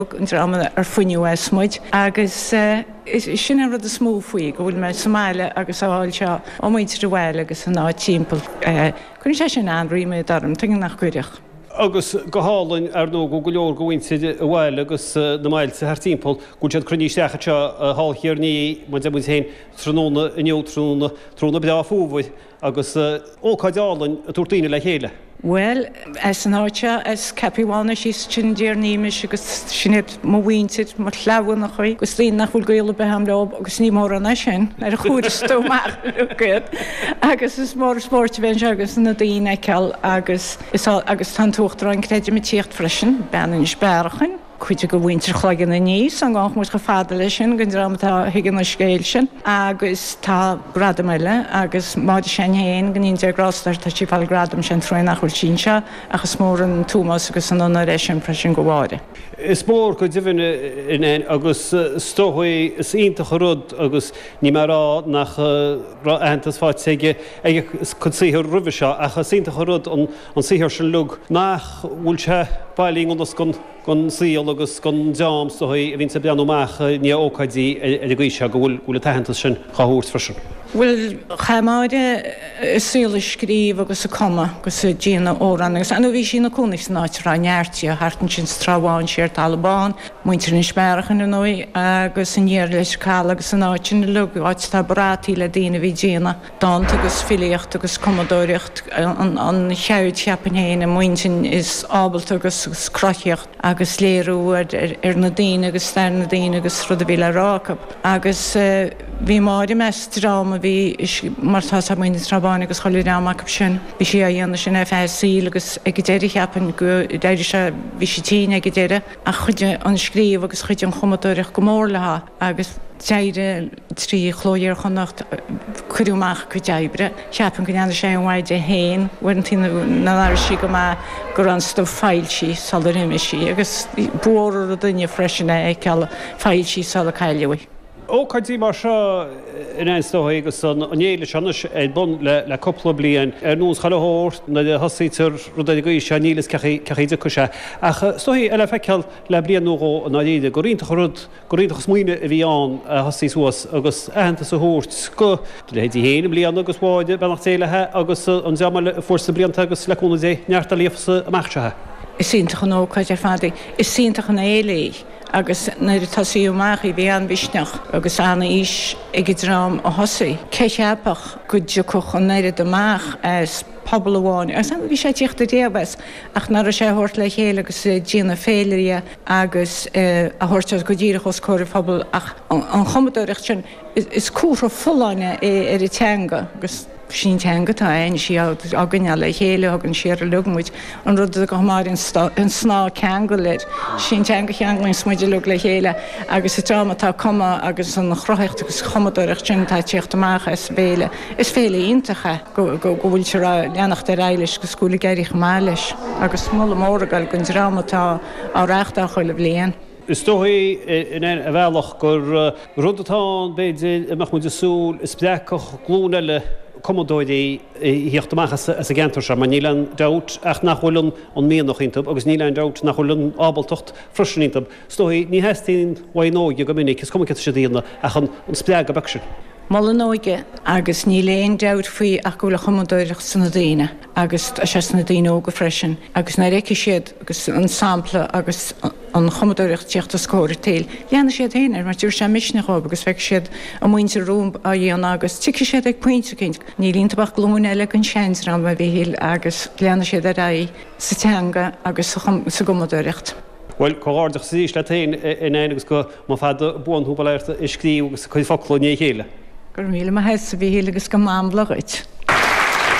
An dream ar fuinneadh as muid agus sin an rud is mó faoi, go bhfuil mé sa mbaile agus á fháil seo ó mhuintir an bhaile agus an áit timpeall. Cuireann sé sin an-ríméad orm, tuige nach gcuirfeadh? Agus go hálainn, ar ndóigh, go go leor de mhuintir an bhaile agus na mbailte thart timpeall, go bhfuil siad cruinnithe isteach anseo thall Thiar i ndiaidh, mar a deir muid féin, tráthnóna inniu, tráthnóna, tráthnóna breá fómhair. Agus ócáid álainn ag tabhairt daoine le chéile. Bhuel, as an áit seo, as Cappywannagh síos ansin i dTír an Fhiaimais agus sin iad mo mhuintir, mo chleamhnachaí agus daoine nach bhfuil gaol ar bith a'm leo agus ní mórán é sin ar a chuaras tú amach uilig iad. Agus is mór an spórt a bheith anseo agus na daoine a fheiceáil agus is agus tá an tUachtarán creidim ag tíocht freisin, bean Inis Bearachain. cuid de mhuintir Chloigeann Aníos, an gabhann muid chomh fada leis sin, den dream atá a thuigeann an scéal sin. Agus tá gradam eile, agus Máire Sheáin féin, go ndéana Dia grásta uirthi, tá sí ag fáil gradam, sé an truaighe nach bhfuil sí anseo, ach is mór an t-ómós agus an onóir é sin freisin do Mháire. Is mór go deimhin é, agus is dóigh, is iontach an rud, agus níl mé ag rá nach raibh aitheantas faighte aige ag a cuid saothair roimhe seo, ach is iontach an rud an saothar sin uilig nach bhfuil sé bailithe i ngan fhios don don saol agus don dream is dóigh a bhíonns ag breathnú amach i ndiaidh ócáidí ar an gcaoi seo go bhfuil an t-aitheantas sin dhá thabhairt freisin. Bhuel, chaith Máire a saol ag scríobh agus ag cumadh agus ag déanamh amhrán agus, ar ndóigh, bhí sí ina cónaí san áit a raibh neart di, thart ansin sa Trá Bháin, siar Talamh Bán, muintir Inis Bearachain, ar ndóigh, agus aniar Leitir Caladh agus an áit sin uilig, áit atá brataí le daoine a bhí ag déanamh. dánta agus filíocht agus cumadóireacht, an cheird cheapfainn féin i m'intinn is ábalta agus cruthaíocht agus léiriú ar na daoine agus stair na daoine agus rud a bhí le rá acu. Agus bhí Máire i measc dream a bhí, mar tá 's ag muintir Trá Báin agus chuile dhream acu sin, bhí sí á dhéanamh sin ar feadh a saoil agus ag an deireadh cheapfainn go d'éirigh sé, bhí sí tinn ag an deireadh ach chuidigh an scríobh agus chuidigh an chumadóireacht go mór léi. Agus d'éirigh trí Chló Iar-Chonnacht, cuireadh amach a cuid oibre. Cheapfainn go ndearna sé an-mhaith di féin, uaireanta nár airigh sí go maith go raibh an stuif foilsithe sular imigh sí, agus ba mhór an rud dúinne freisin é a fheiceáil foilsithe sular cailleadh í. Ócáidí mar seo in aon is dóigh agus an fhéile seo anois ar bun le cúpla bliain. Ar nós chuile shórt, nuair a thosaítear rud ar an gcaoi seo níl fhios cén chaoi a dtiocfaidh sé. Ach is dóigh le feiceáil le bliain nó dhó i ndáiríre gur iontach an rud gur iontach an smaoineamh a bhí ann a thosaí suas agus aitheantas a thabhairt do leithéidí féin i mbliana agus Mháire, beannacht Dé léi, agus an dream eile a fuair sna blianta agus le cúnamh Dé neart eile a amach anseo. Is iontach an ócáid ar fad í. Is iontach an fhéile í agus nuair a tosaíodh amach í bhí an-mhisneach agus an-fhís ag an dream a thosaigh. Cé cheapfadh go dtiocfadh an oiread amach as pobal amháin agus bhí sé ag tíocht ariamh as ach nach raibh sé a thabhairt le chéile agus ag déanamh féile dhe agus a thabhairt go díreach os comhair an phobail ach an chumadóireacht sin is comhartha folláine é ar an teanga agus sin teanga atá againn, sí á gcoinneáil le chéile, a thugann siar uilig muid, an rud a thug Máire an snáth ceangail air, sin teanga a cheanglaíonns muid uilig le chéile agus an dream atá ag cumadh agus an chruthaíocht agus an chumadóireacht sin atá ag tíocht amach as an bhféile, is féile iontach é go bhfuiltear á leanacht ar aghaidh leis agus go bhfuil ag éirí chomh maith leis agus moladh mór ag dul don dream atá á reáchtáil chuile bhliain. Is dóigh, ar bhealach, gur rud atá ann, b'fhéidir, a mbeadh muid ag súil a spreagfadh glúin eile cumadóirí a thíocht amach as an gceantar seo, mar níl aon dabht ach nach bhfuil an mianach iontu agus níl aon dabht nach bhfuil an ábaltacht freisin iontu. Is dóigh, ní theastaíonn uaidh an óige go minic, is cuma céard atá siad a dhéanamh, ach an spreagadh beag sin. Moladh an óige agus níl aon dabht faoi ach go bhfuil an chumadóireacht sna daoine agus tá sé sna daoine óga freisin agus nuair a fheicfidh siad agus an sampla agus an chumadóireacht tíocht os comhair an tsaoil, leanfaidh siad féin air mar tabharfaidh sé misneach dhóibh agus feicfidh siad a muintir rompu á dhéanamh agus tiocfaidh siad ag pointe eicínt. Níl iontu ach glúin eile den seandream, a Mhíchíl, agus leanfaidh siad ar aghaidh sa teanga agus sa gcumadóireacht. Bhuel, comhghairdeachas arís leat féin, a Nain, agus go mba fada buan thú, bail ó Dhia ort, ag scríobh agus ag cur focla i ndiaidh a chéile. Go raibh míle maith agat, a Mhíchíl, agus go mba amhlaidh dhuit.